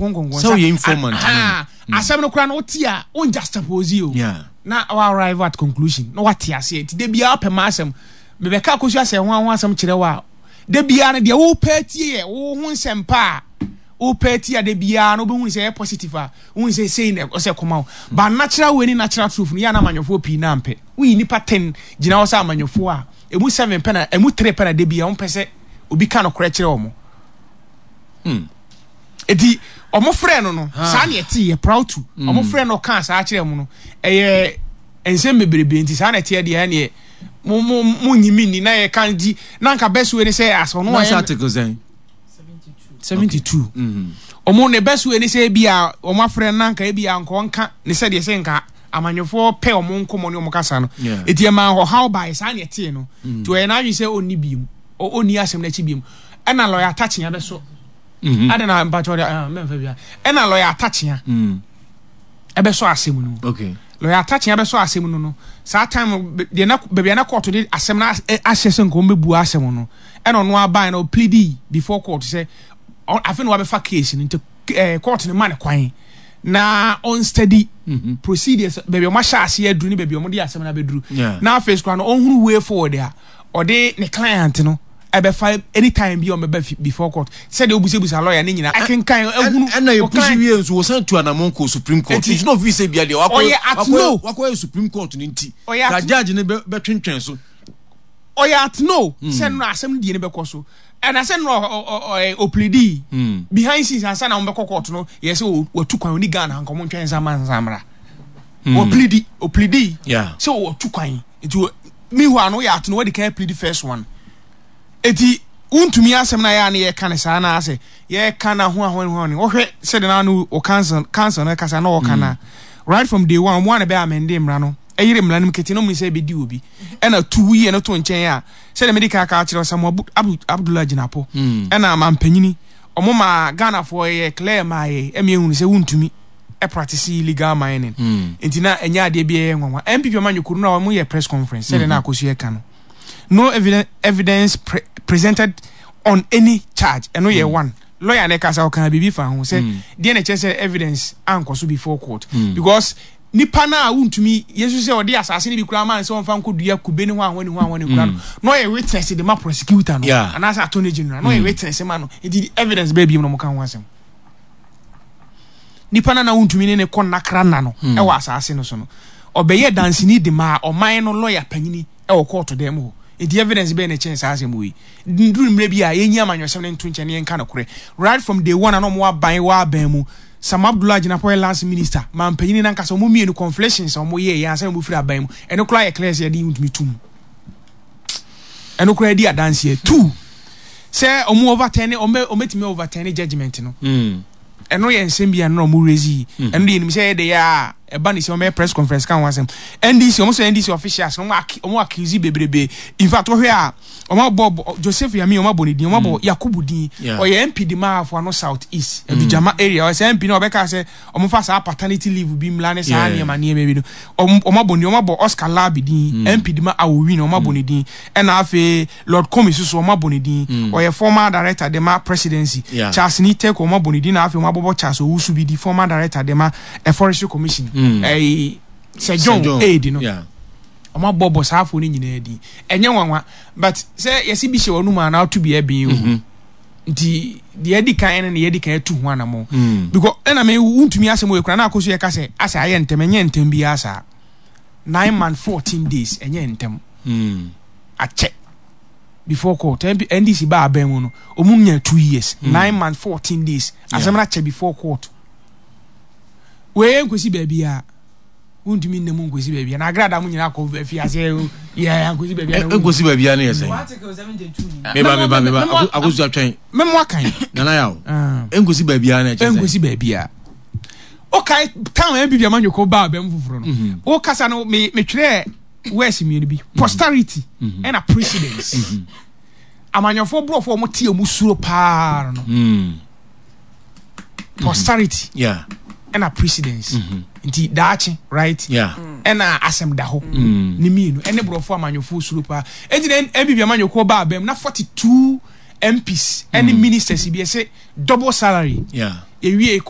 Nkɔnkɔnsa. Sɛ woyɛ informant no. Ah, asɛm no koraa no wote a, won juxtapose o. Na wa arrive at conclusion, na wate aseɛ. Nti da biara wopɛ m'asɛm. Mebɛka akɔsu asɛ ho ho asɛm kyerɛ wo a, da biara no deɛ wopɛ atie yɛ wo ho nsɛmpa a wopɛ atie a da biara no wobɛhu sɛ ɛyɛ positive a, wohu sɛ sei na ɛsɛ kɔma wo. But natural way ne natural truth no yɛ a na amanyɔfoɔ pii na ampɛ. Woyi nnipa 10 gyina hɔ sɛ amanyɔfoɔ a, ɛmu 7 pɛ na, ɛmu 3 pɛ na da biara wɔmpɛ sɛ obi ka nokorɛ kyerɛ wɔn. Eti wɔn frɛ no no, saa na ɛte yɛ proud to. Wɔn frɛ no ɔkaa saa kyerɛ mu no, ɛyɛ nsɛm bebrebe nti saa na ɛteɛ deɛ ɛneɛ mo mo mo nyi mi ni na yɛ kan di na nka best way ne sɛ asɛ ɔno ayɛ. Article sɛn? 72. Wɔn ne best way ne sɛ ebi a wɔn afrɛ no na nka ebi a nka ɔnka ne sɛ deɛ sɛ nka amanyɔfoɔ pɛ wɔn nkɔmɔ ne wɔn kasa no. Eti ɛma ɔhaw baeɛ saa na ɛteɛ no. Nti ɔyɛ n'adwene sɛ ɔnni biem, ɔnni asɛm n'akyi biem. Ɛna lɔya atakyea bɛso. Ɛna na mpakyɛw de mɛmfa bia. Ɛna lɔya atakyea ɛbɛsɔ asɛm no mu. Lɔya atakyea bɛsɔ asɛm no no. Saa time deɛ na baabi a na court de asɛm no ahyɛ sɛ nka wɔn bɛbu asɛm no. Ɛna ɔno aban na ɔplidi before court sɛ afei na wabɛfa case no nti court no ma ne kwan na ɔn study procedures baabi a wɔn ahyɛ aseɛ aduru ne baabi a wɔn de asɛm no abɛduru. Na afei so koraa no ɔnhunu way forward a ɔde ne client no ɛbɛfa anytime bi a ɔbɛba before court sɛdeɛ wobusabusa lawyer ne nyinaa akenkan ahunu. Ɛna yɛ pusi wie nso wɔsan tu anamɔn kɔ Supreme Court nti na ofi sɛ bia deɛ wakɔ wakɔ wakɔyɛ Supreme Court ne nti ka judge ne bɛtwentwɛn so. Ɔyɛ at no sɛ no asɛm no die no bɛkɔ so ɛna sɛ no ɔplidi behind scenes ansa na wɔbɛkɔ court no yɛ sɛ wɔtu kwan oni Ghana nka wɔn ntwɛn nsa ma nsa mmra ɔplidi ɔplidi sɛ wɔtu kwan. Nti meanwhile no woyɛ ato no wadi kan plead first one. Eti wontumi asɛm na yɛ a ne yɛka ne saa na asɛ yɛka na ho ahoa ho ne wohwɛ sɛde na no o council council no kasa na wɔka na right from day one wɔn a na bɛ amende mmara no ɛyere mmara no mu kete no mu sɛ ɛbɛdi obi ɛna tu woyɛ no to nkyɛn a sɛde mede kan aka akyerɛ Samuel Abdullah Gyinapo ɛna mampanyini ɔmo ma Ghanafoɔ yɛ clear ma yɛ ɛmi ehunu sɛ wontumi practice illegal mining hmm. Nti na ɛnyɛ adeɛ bi ɛyɛ nwanwa. NPP amanyɔkuo no na wɔn yɛ press conference sɛdeɛ na akɔsu ɛka no, no evidence, evidence pre presented on any charge. Ɛno yɛ one lawyer na ɛka sɛ ɔka biribi fa ho sɛ deɛ na ɛkyerɛ sɛ evidence ankɔ so before court because nipa no a wontumi yesu sɛ ɔde asase no bi koraa maa no sɛ ɔmfa nkɔdua kube ne ho ahoa ne ho ahoa ne kura no na ɔyɛ witness de ma prosecutor no anaasɛ attorney general na ɔyɛ witness ma no. Nti evidence bɛɛ bi mu na ɔmo ka ho asɛm. Nipa no a na wontumi ne no kɔ nnakra nna no hmm. wɔ asaase no so no, ɔbɛyɛ danseni de maa ɔman no lɔya panyini wɔ kɔɔto dan mu hɔ. Nti evidence bɛyɛ na ɛkyɛn saa asɛm wei? Nduru mmerɛ bi a yɛnyi amanyɔsɛm no nto nkyɛn na yɛnka nokorɛ. Right from day one a na wɔn aban wɔ aban mu, Sam Abdullah Jinapor yɛ lands minister, maa mpanyini no ankasa wɔn mmienu conflations a wɔn yɛɛ yɛ ansa na wɔn firi aban mu. Ɛno koraa yɛ clear sɛ yɛde ntumi tum. Ɛno koraa di adanseɛ. Two, sɛ ɔmo overturn, ɔmo ɔmo overturn judgement no. Ɛno yɛ nsɛm bi a na ɔmo raise yi. Ɛno deɛ yɛnim sɛ ɛyɛ de yɛ a ɛba ne sɛ ɔmo yɛ press conference ka ho asɛm. NDC, ɔmo sɛ NDC officials no ɔmo accuse bebrebe. In fact wɔhwɛ a ɔmo abɔ Joseph Yami, ɔmo abɔ ne din, ɔmo abɔ Yakubu din. Ɔyɛ MP de ma Afuano South East, Adugyama area. Ɔyɛ sɛ MP na ɔbɛka sɛ ɔmo fa saa paternity leave bi mmla ne saa nneɛma nneɛma bi no. Ɔmo abɔ ne, ɔmo abɔ Oscar Larbi din, MP de ma Awowin, ɔmo abɔ ne din. Ɛna afei Lord Commey nso so wɔn abɔ ne din. Ɔyɛ former director de ma presidency. Charles Nii Teiko wɔn abɔ ne din na afei wɔn abɔbɔ Charles Owusu bi di, former director de ma Forestry Commission. Ɛyi Sir John Aid no. Wɔn abɔbɔ saa afɔ no nyinaa din. Ɛnyɛ nwanwa but sɛ yɛsi bi hyɛ wɔn anum a na ato bi ɛbɛn o. Nti deɛ adi kan no na yɛdi kan atu ho anamɔ. Because ɛna me wuntumi asɛm wɔ ekura na akɔ so yɛ ka sɛ asɛ ayɛ ntɛm, ɛnyɛ ntɛm biara saa. 9 month 14 days ɛnyɛ ntɛm. Akyɛ before court. NDC ba abɛn mu no, ɔmu nya 2 years, 9 month 14 days asɛm no akyɛ before court. Wei nkosi baabi a wontumi nna mu nkosi baabi a na agrada mu nyinaa kɔ afi ase yɛ nkosi baabi a. Nkosi baabi a no yɛ sɛn? Meba meba meba, akosi atwɛn. Mɛmo akan. Nana yaw. Nkosi baabi a na ɛkyɛ sɛn? Nkosi baabi a. Okae town NPP amanyɔkuo ba abɛn foforɔ no. Wokasa no metwerɛ words mmienu bi, posterity ɛna precedence. Amanyɔfoɔ borɔfoɔ wɔn te wɔn suro paa no, posterity ɛna precedence. Nti daakye, right, ɛna asɛm da hɔ ne mmienu ɛne borɔfoɔ amanyɔfoɔ suro paa. Eti na NPP amanyɔkuo baa bɛm na 42 MPs ɛne ministers bi ɛsɛ double salary. Ewie.